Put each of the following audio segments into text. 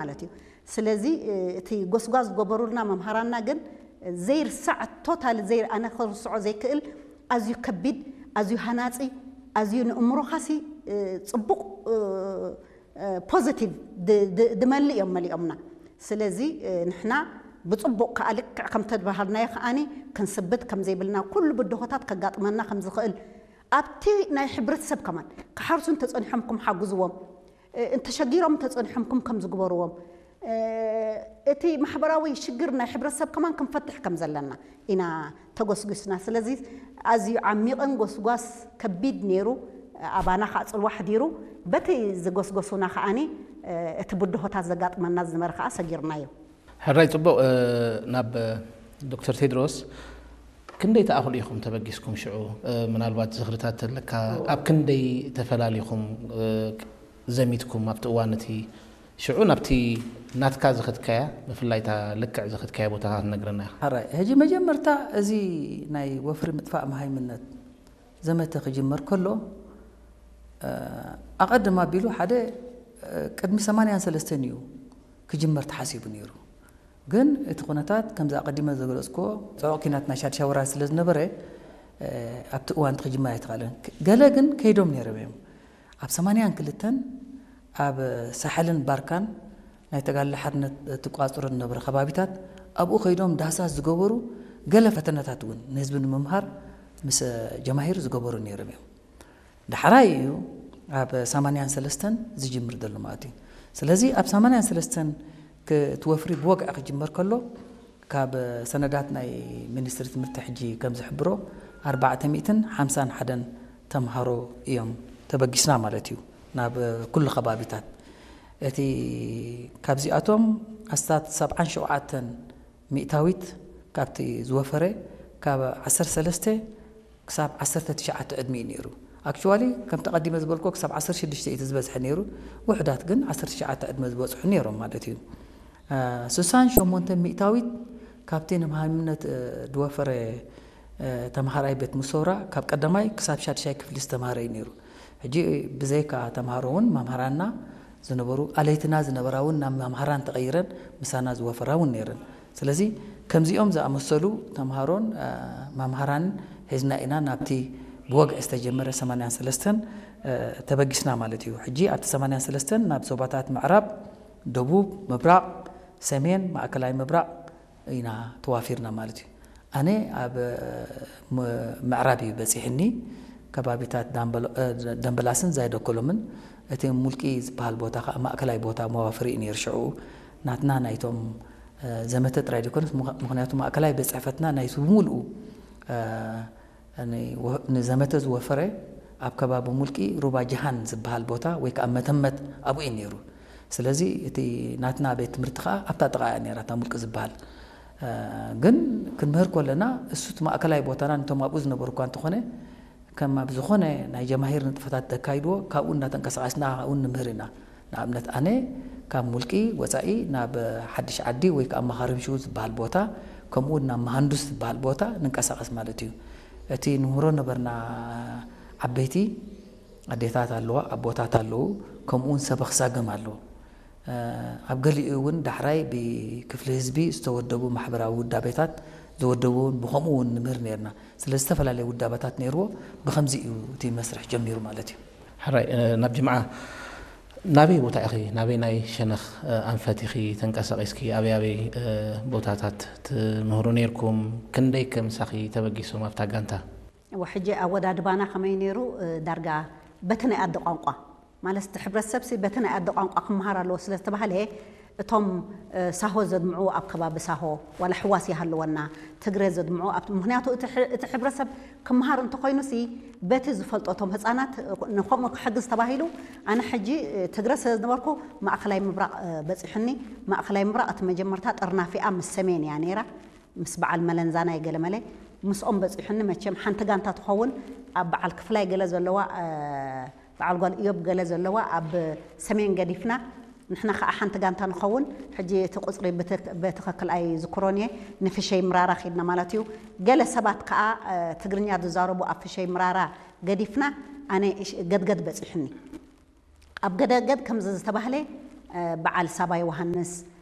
ማለት እዩ። ስለዚ እቲ ጎስጓስ ዝገበሩልና መምሃራንና ግን ዘይርሳዕ፣ ቶታል ዘይ ኣነ ክርስዖ ዘይክእል ኣዝዩ ከቢድ፣ ኣዝዩ ሃናጺ፣ ኣዝዩ ንእምሮኻሲ ጽቡቕ ፖዚቲቭ ድመልእ እዮም መሊኦምና። ስለዚ ንሕና ብጽቡቕ ከኣ ልክዕ ከም ተባሃልናዮ ከኣኒ ክንስብት ከም ዘይብልና፣ ኩሉ ብድሆታት ከጋጥመና ከም ዝኽእል ኣብቲ ናይ ሕብረተሰብ ከማን ክሓርሱ እንተጸኒሖም ከም ሓግዝዎም፣ እንተሸጊሮም እንተጸኒሖም ከም ከም ዝግበርዎም፣ እቲ ማሕበራዊ ሽግር ናይ ሕብረተሰብ ከማን ክንፈትሕ ከም ዘለና ኢና ተጎስጒስና። ስለዚ ኣዝዩ ዓሚቕን ጎስጓስ ከቢድ ነይሩ። ኣባና ከዓ ጽልዋ ኣሕዲሩ። በቲ ዝጎስጎሱና ከኣኒ እቲ ብድሆታት ዘጋጥመና ዝነበረ ከዓ ሰጊርናዮ። ሕራይ ጽቡቕ። ናብ ዶክተር ቴድሮስ፣ ክንደይ ተኣኽሉ ኢኹም ተበጊስኩም ሽዑ? ምናልባት ዝኽርታት ኣለካ፣ ኣብ ክንደይ ተፈላሊኹም ዘሚትኩም ኣብቲ እዋን እቲ ሽዑ ናብቲ ናትካ ዝኸድካያ፣ ብፍላይ እታ ልክዕ ዝኸድካያ ቦታ ክትነግረና ኢኻ። ሕራይ፣ ሕጂ መጀመርታ እዚ ናይ ወፍሪ ምጥፋእ መሃይምነት ዘመተ ክጅመር ከሎ፣ ኣቐድም ኣቢሉ ሓደ ቅድሚ ሰማንያን ሰለስተን እዩ ክጅመር ተሓሲቡ ነይሩ። ግን እቲ ኩነታት ከምዚ ኣቐዲመ ዝገለጽክዎ ጽዑቕ ኲናት ናይ ሻድሻይ ወራር ስለ ዝነበረ፣ ኣብቲ እዋን እቲ ክጅመር ኣይተኻእለን። ገለ ግን ከይዶም ነይሮም እዮም። ኣብ ሰማንያን ክልተን ኣብ ሳሕልን ባርካን ናይ ተጋድሎ ሓርነት ትቋጽሮ ዝነበረ ከባቢታት ኣብኡ ከይዶም ዳህሳስ ዝገበሩ፣ ገለ ፈተነታት እውን ንህዝቢ ንምምሃር ምስ ጀማሂር ዝገበሩ ነይሮም እዮም። ዳሕራይ እዩ ኣብ ሰማንያን ሰለስተን ዝጅምር ዘሎ ማለት እዩ። ስለዚ ኣብ ሰማንያን ሰለስተን እቲ ወፍሪ ብወግዒ ክጅመር ከሎ፣ ካብ ሰነዳት ናይ ሚኒስትሪ ትምህርቲ ሕጂ ከም ዝሕብሮ፣ ኣርባዕተ ሚእትን ሓምሳን ሓደን ተምሃሮ እዮም ተበጊስና ማለት እዩ፣ ናብ ኩሉ ከባቢታት። እቲ ካብዚኣቶም ኣስታት ሰብዓን ሸውዓተን ሚእታዊት ካብቲ ዝወፈረ፣ ካብ ዓሰርተ ሰለስተ ክሳብ ዓሰርተ ትሽዓተ ዕድሚኡ ነይሩ። ኣክቹዋሊ ከምቲ ቀዲመ ዝበልኮ ክሳብ ዓሰርተ ሽዱሽተ እቲ ዝበዝሐ ነይሩ። ውሑዳት ግን ዓሰርተ ትሽዓተ ዕድመ ዝበጽሑ ነይሮም ማለት እዩ። ስሳን ሸሞንተ ሚእታዊት ካብቲ ንመሃይምነት ዝወፈረ ተምሃራይ ቤት ምሰውራ ካብ ቀዳማይ ክሳብ ሻድሻይ ክፍሊ ዝተምሃረ እዩ ነይሩ። ሕጂ ብዘይካ ተምሃሮ እውን መምሃራንና ዝነበሩ፣ ኣለይትና ዝነበራ እውን ናብ መምሃራን ተቐይረን ምሳና ዝወፈራ እውን ነይረን። ስለዚ ከምዚኦም ዝኣመሰሉ ተምሃሮን መምሃራንን ሒዝና ኢና ናብቲ ብወግዒ ዝተጀመረ ሰማንያን ሰለስተን ተበጊስና ማለት እዩ። ሕጂ ኣብቲ ሰማንያን ሰለስተን ናብ ዞባታት ምዕራብ፣ ደቡብ፣ ምብራቕ፣ ሰሜን፣ ማእከላይ ምብራቕ ኢና ተዋፊርና ማለት እዩ። ኣነ ኣብ ምዕራብ እዩ በጺሕኒ፣ ከባቢታት ደምበላስን ዛይደኮሎምን። እቲ ሙልቂ ዝበሃል ቦታ ከዓ ማእከላይ ቦታ መዋፍሪ እዩ ነይሩ ሽዑ። ናትና ናይቶም ዘመተ ጥራይ ዘይኮነስ፣ ምኽንያቱ ማእከላይ ቤት ጽሕፈትና ናይቲ ብምሉኡ ንዘመተ ዝወፈረ ኣብ ከባቢ ሙልቂ ሩባ ጀሃን ዝበሃል ቦታ ወይ ከዓ መተመት ኣብኡ እዩ ነይሩ። ስለዚ እቲ ናትና ቤት ትምህርቲ ከዓ ኣብታ ጥቓ እያ ነይራ፣ እታ ሙልቂ ዝበሃል። ግን ክንምህር ከለና እሱ እቲ ማእከላይ ቦታና፣ ነቶም ኣብኡ ዝነበሩ እኳ እንተኾነ፣ ከም ኣብ ዝኾነ ናይ ጀማሂር ንጥፈታት ተካይድዎ ካብኡ እናተንቀሳቐስና እውን ንምህር ኢና። ንኣብነት ኣነ ካብ ሙልቂ ወፃኢ ናብ ሓድሽ ዓዲ ወይ ከዓ መኻርምሽው ዝበሃል ቦታ፣ ከምኡ እውን ናብ መሃንዱስ ዝበሃል ቦታ ንንቀሳቐስ ማለት እዩ። እቲ ንምህሮ ነበርና ዓበይቲ ኣዴታት ኣለዋ፣ ኣቦታት ኣለዉ፣ ከምኡ እውን ሰበኽ ሳግም ኣለዉ። ኣብ ገሊኡ እውን ዳሕራይ ብክፍሊ ህዝቢ ዝተወደቡ ማሕበራዊ ውዳቤታት ዝወደቡ እውን ብኸምኡ እውን ንምህር ነርና። ስለ ዝተፈላለየ ውዳበታት ነይርዎ፣ ብኸምዚ እዩ እቲ መስርሕ ጀሚሩ ማለት እዩ። ሕራይ፣ ናብ ጅምዓ ናበይ ቦታ ኢኺ፣ ናበይ ናይ ሸነኽ ኣንፈት ኢኺ ተንቀሳቒስኪ፣ ኣበይ ኣበይ ቦታታት ትምህሩ ነይርኩም፣ ክንደይ ከ ምሳኺ ተበጊሶም ኣብታ ጋንታ? እወ፣ ሕጂ ኣወዳድባና ከመይ ነይሩ? ዳርጋ በቲ ናይ ኣደ ቋንቋ ማለት፣ እቲ ሕብረተሰብ ሲ በቲ ናይ ኣደ ቋንቋ ክመሃር ኣለዎ ስለ ዝተባህለ፣ እቶም ሳሆ ዘድምዑ ኣብ ከባቢ ሳሆ፣ ዋላ ሕዋስ ይሃልወና፣ ትግረ ዘድምዑ ኣብቲ፣ ምኽንያቱ እቲ ሕ-፣ እቲ ሕብረተሰብ ክመሃር እንተኾይኑ ሲ በቲ ዝፈልጦ፣ እቶም ህፃናት ንከምኡ ክሕግዝ ተባሂሉ፣ ኣነ ሕጂ ትግረ ስለ ዝነበርኩ ማእኸላይ ምብራቕ በፂሑኒ። ማእኸላይ ምብራቕ እቲ መጀመርታ ጥርናፊኣ ምስ ሰሜን እያ ነይራ፣ ምስ በዓል መለንዛናይ ገለመለ ምስኦም በፂሑኒ። መቸም ሓንቲ ጋንታ ትኸውን ኣብ በዓል ክፍላይ ገለ ዘለዋ፣ በዓል ጓል እዮብ ገለ ዘለዋ ኣብ ሰሜን ገዲፍና፣ ንሕና ከዓ ሓንቲ ጋንታ ንኸውን። ሕጂ እቲ ቁፅሪ ብትክ-፣ ብትኽክል ኣይዝክሮን እየ። ንፍሸይ ምራራ ኺድና ማለት እዩ። ገለ ሰባት ከዓ ትግርኛ ዝዛረቡ ኣብ ፍሸይ ምራራ ገዲፍና፣ ኣነ እሽ-፣ ገድገድ በፂሑኒ። ኣብ ገደገድ ከምዚ ዝተባህለ በዓል ሳባ ዮሃንስ፣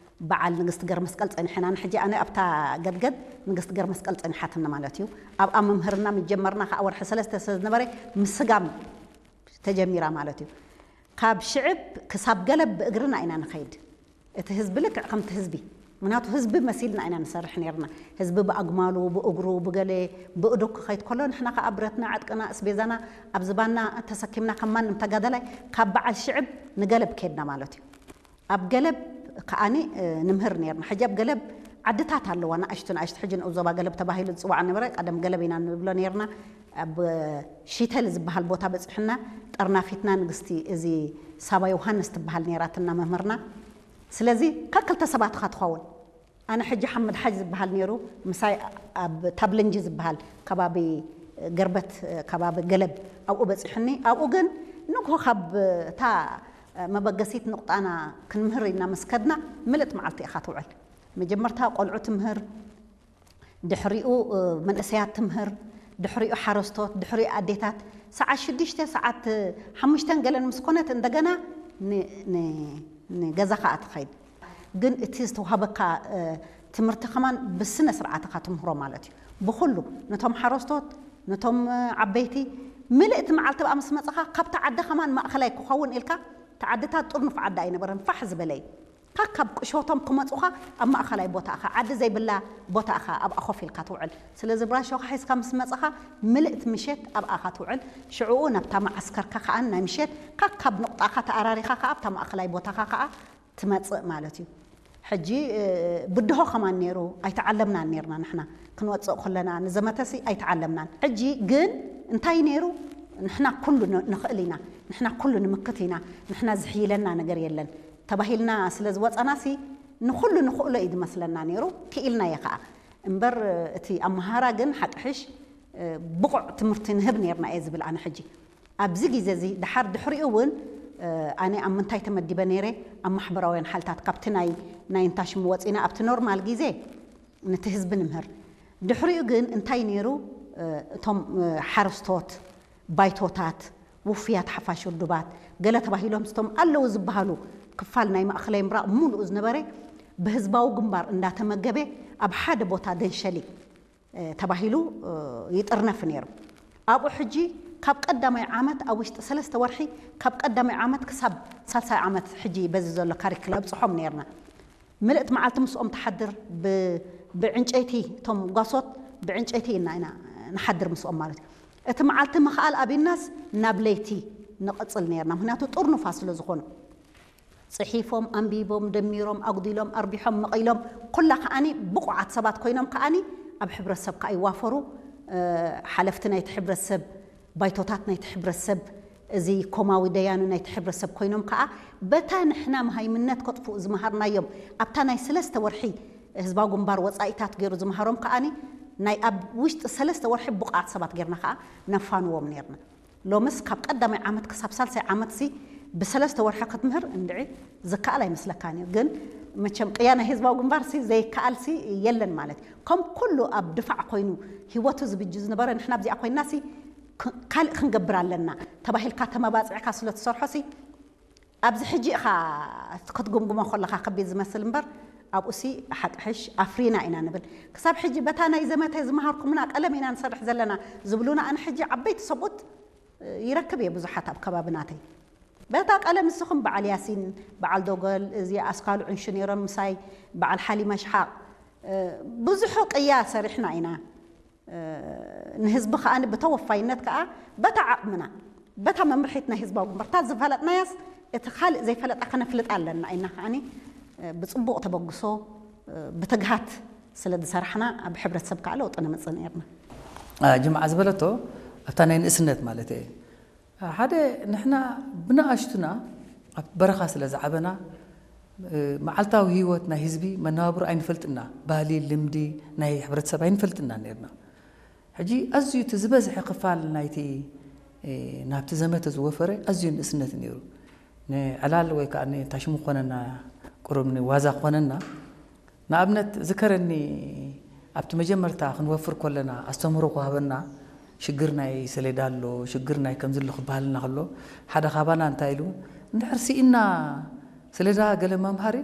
በዓል ንግስቲ ገርመስቀል ጸኒሐና። ንሕጂ ኣነ ኣብታ ገድገድ ንግስቲ ገርመስቀል ጸኒሓትና ማለት እዩ። ኣብኣ ምምህርና ምጀመርና ከዓ ወርሒ ሰለስተ ስለ ዝነበረ ምስጋም ተጀሚራ ማለት እዩ። ካብ ሽዕብ ክሳብ ገለብ ብእግርና ኢና ንኸይድ። እቲ ህዝቢ ልክዕ ከምቲ ህዝቢ፣ ምክንያቱ ህዝቢ መሲልና ኢና ንሰርሕ ነርና። ህዝቢ ብኣግማሉ፣ ብእግሩ፣ ብገለ ብእዱ ክኸይድ ከሎ ንሕና ከዓ ብረትና፣ ዕጥቅና፣ እስቤዛና ኣብ ዝባና ተሰኪምና ከም ማንም ተጋዳላይ ካብ በዓል ሽዕብ ንገለብ ከድና ማለት እዩ። ኣብ ገለብ ከዓኒ እ፣ ንምህር ነርና። ሕጂ ኣብ ገለብ ዓድታት ኣለዋ፣ ንኣሽቱ ንኣሽቱ፣ ሕጂ ንኡብ ዞባ ገለብ ተባሂሉ ዝፅዋዕ ነበረ። ቀደም ገለብ ኢና ንብሎ ነርና። ኣብ ሺተል ዝበሃል ቦታ በፂሕና፣ ጠርናፊትና ንግስቲ እዚ ሳባ ዮሃንስ ትበሃል ነራትና መምህርና። ስለዚ ካብ ክልተ ሰባት ኢኻ ትኸውን። ኣነ ሕጂ ሓመድ ሓጅ ዝበሃል ነይሩ፣ ምሳይ ኣብ ታብለንጂ ዝበሃል ከባቢ ገርበት፣ ከባቢ ገለብ ኣብኡ በፂሑኒ። ኣብኡ ግን ንግሆ ካብ እታ መበገሲት ንቁጣና ክንምህር ኢና ምስ ከድና፣ ምልእቲ መዓልቲ ኢኻ ትውዕል። መጀመርታ ቆልዑ ትምህር፣ ድሕሪኡ መንእሰያት ትምህር፣ ድሕሪኡ ሓረስቶት፣ ድሕሪኡ ኣዴታት። ሰዓት ሽዱሽተ፣ ሰዓት ሓሙሽተን ገለን ምስ ኮነት እንደገና ን- ን- ንገዛ ከኣ ትኸይድ። ግን እቲ ዝተዋህበካ እ፣ ትምህርቲ ከማን ብስነ ስርዓት ኢኻ ትምህሮ ማለት እዩ። ብኹሉ፣ ነቶም ሓረስቶት፣ ነቶም እ፣ ዓበይቲ፣ ምልእቲ መዓልቲ ብኣ ምስ መጽኻ፣ ካብቲ ዓዲ ከማን ማእኸላይ ክኸውን ኢልካ፣ እቲ ዓድታት ጥርኑፍ ዓዲ ኣይነበረን፣ ፋሕ ዝበለ እዩ። ካካብ ቁሾቶም ክመጹኻ ኣብ ማእኸላይ ቦታ ኢኻ፣ ዓዲ ዘይብላ ቦታ ኢኻ ኣብኣ ኮፍ ኢልካ ትውዕል። ስለዚ ብራሾኻ ሒዝካ ምስ መጻኻ ምልእቲ ምሸት ኣብኣ ኢኻ ትውዕል። ሽዕኡ ናብታ መዓስከርካ ከኣ ናይ ምሸት ካካብ ንቑጣኻ ተኣራሪኻ ከኣ ኣብታ ማእኸላይ ቦታኻ ከኣ ትመጽእ ማለት እዩ። ሕጂ እ፣ ብድሆ ከማን ነይሩ፣ ኣይተዓለምናን ነርና ንሕና ክንወጽእ ከለና ንዘመተሲ ኣይተዓለምናን። ሕጂ ግን እንታይ ነይሩ? ንሕና ኩሉ ን- ንኽእል ኢና፣ ንሕና ኩሉ ንምክት ኢና፣ ንሕና ዝሕይለና ነገር የለን ተባሂልና ስለ ዝወጸናሲ ንኹሉ ንኽእሎ እዩ ዝመስለና ነይሩ። ክኢልናዮ ከኣ እምበር እቲ ኣመሃራ ግን ሓቂ ሕሽ ብቑዕ ትምህርቲ ንህብ ነርና እየ ዝብል ኣነ ሕጂ ኣብዚ ግዜ እዚ። ደሓር ድሕሪኡ እውን ኣነ ኣብ ምንታይ ተመዲበ ነይረ? ኣብ ማሕበራውያን ሓልታት ካብቲ ናይ ናይ እንታሽሙ ወፂና ኣብቲ ኖርማል ግዜ ነቲ ህዝቢ ንምህር። ድሕሪኡ ግን እንታይ ነይሩ? እቶም ሓረስቶት ባይቶታት፣ ውፉያት ሓፋሽ ውድባት፣ ገለ ተባሂሎም ስቶም ኣለዉ ዝበሃሉ ክፋል ናይ ማእኸላይ ምብራቕ ምሉኡ ዝነበረ ብህዝባዊ ግንባር እንዳተመገበ ኣብ ሓደ ቦታ ደንሸሊ ተባሂሉ ይጥርነፍ ነይሩ። ኣብኡ ሕጂ ካብ ቀዳማይ ዓመት ኣብ ውሽጢ ሰለስተ ወርሒ፣ ካብ ቀዳማይ ዓመት ክሳብ ሳልሳይ ዓመት ሕጂ በዚ ዘሎ ካሪክለም ኣብፅሖም ነይርና። ምልእቲ መዓልቲ ምስኦም ትሓድር፣ ብ- ብዕንጨይቲ፣ እቶም ጓሶት ብዕንጨይቲ ኢና ኢና ንሓድር ምስኦም ማለት እዩ። እቲ መዓልቲ ምኽኣል ኣቢናስ ናብ ለይቲ ንቕፅል ነይርና፣ ምክንያቱ ጥርኑፋ ስለ ዝኾኑ። ፅሒፎም፣ ኣንቢቦም፣ ደሚሮም፣ ኣጉዲሎም፣ ኣርቢሖም፣ መቒሎም፣ ኩላ ከዓኒ ብቑዓት ሰባት ኮይኖም ከዓኒ ኣብ ሕብረተሰብ ከኣ ይዋፈሩ። ሓለፍቲ ናይቲ ሕብረተሰብ፣ ባይቶታት ናይቲ ሕብረተሰብ፣ እዚ ኮማዊ ደያኑ ናይቲ ሕብረተሰብ ኮይኖም ከኣ በታ ንሕና መሃይምነት ከጥፍኡ ዝመሃርናዮም ኣብታ ናይ ሰለስተ ወርሒ ህዝባዊ ግንባር ወጻኢታት ገይሩ ዝመሃሮም ከኣኒ ናይ ኣብ ውሽጢ ሰለስተ ወርሒ ብቑዓት ሰባት ጌርና ከኣ ነፋንዎም ኔርና። ሎምስ ካብ ቀዳማይ ዓመት ክሳብ ሳልሳይ ዓመትሲ ብሰለስተ ወርሒ ክትምህር እንድዒ ዝከኣል ኣይመስለካን እዩ። ግን መቸም ቅያ ናይ ህዝባዊ ግንባርሲ ዘይከኣልሲ የለን ማለት እዩ። ከም ኩሉ ኣብ ድፋዕ ኮይኑ ህይወቱ ዝብጅ ዝነበረ ንሕና ኣብዚኣ ኮይንናሲ ክ- ካልእ ክንገብር ኣለና ተባሂልካ ተመባፅዕካ ስለ ትሰርሖሲ ኣብዚ ሕጂ ኢኻ ክትግምግሞ ከለኻ ከቢድ ዝመስል እምበር ኣብኡሲ ሓቂ ሕሽ ኣፍሪና ኢና ንብል። ክሳብ ሕጂ በታ ናይ ዘመተ ዝመሃርኩምና ቀለም ኢና ንሰርሕ ዘለና ዝብሉና ኣነ ሕጂ ዓበይቲ ሰብኡት ይረክብ እየ ብዙሓት ኣብ ከባቢ ናተይ። በታ ቀለም ንስኹም በዓል ያሲን፣ በዓል ዶጎል፣ እዚ ኣስካሉ ዕንሹ ነይሮም ምሳይ፣ በዓል ሓሊማ ሽሓቕ፣ ብዙሑ ቅያ ሰሪሕና ኢና። ንህዝቢ ከኣ ብተወፋይነት ከኣ በታ ዓቕምና በታ መምርሒት ናይ ህዝባዊ ግንባር እታ ዝፈለጥናያስ እቲ ካልእ ዘይፈለጣ ከነፍልጣ ኣለና ኢልና ከኣ ብፅቡቕ ተበግሶ ብትግሃት ስለ ዝሰራሕና ኣብ ሕብረተሰብ ከኣ ለውጢ ነምፅእ ነርና። ጅምዓ ዝበለቶ ኣብታ ናይ ንእስነት ማለት እየ ሓደ ንሕና ብንኣሽቱና ኣብ በረኻ ስለ ዝዓበና መዓልታዊ ህይወት ናይ ህዝቢ መነባብሮ ኣይንፈልጥና፣ ባህሊ ልምዲ ናይ ሕብረተሰብ ኣይንፈልጥና ነርና። ሕጂ ኣዝዩ እቲ ዝበዝሐ ክፋል ናይቲ ናብቲ ዘመተ ዝወፈረ ኣዝዩ ንእስነት ነይሩ። ንዕላል ወይ ከዓ ንታሽሙ ክኾነና ቁሩብ ንዋዛ ክኾነና ንኣብነት ዝከረኒ ኣብቲ መጀመርታ ክንወፍር ከለና ኣስተምህሮ ክሃበና ሽግር ናይ ሰሌዳ ኣሎ ሽግር ናይ ከምዚ ኣሎ ክበሃልና ከሎ ሓደ ካባና እንታይ ኢሉ እንድሕር ስኢና ስለዛ ገለ መምሃሪ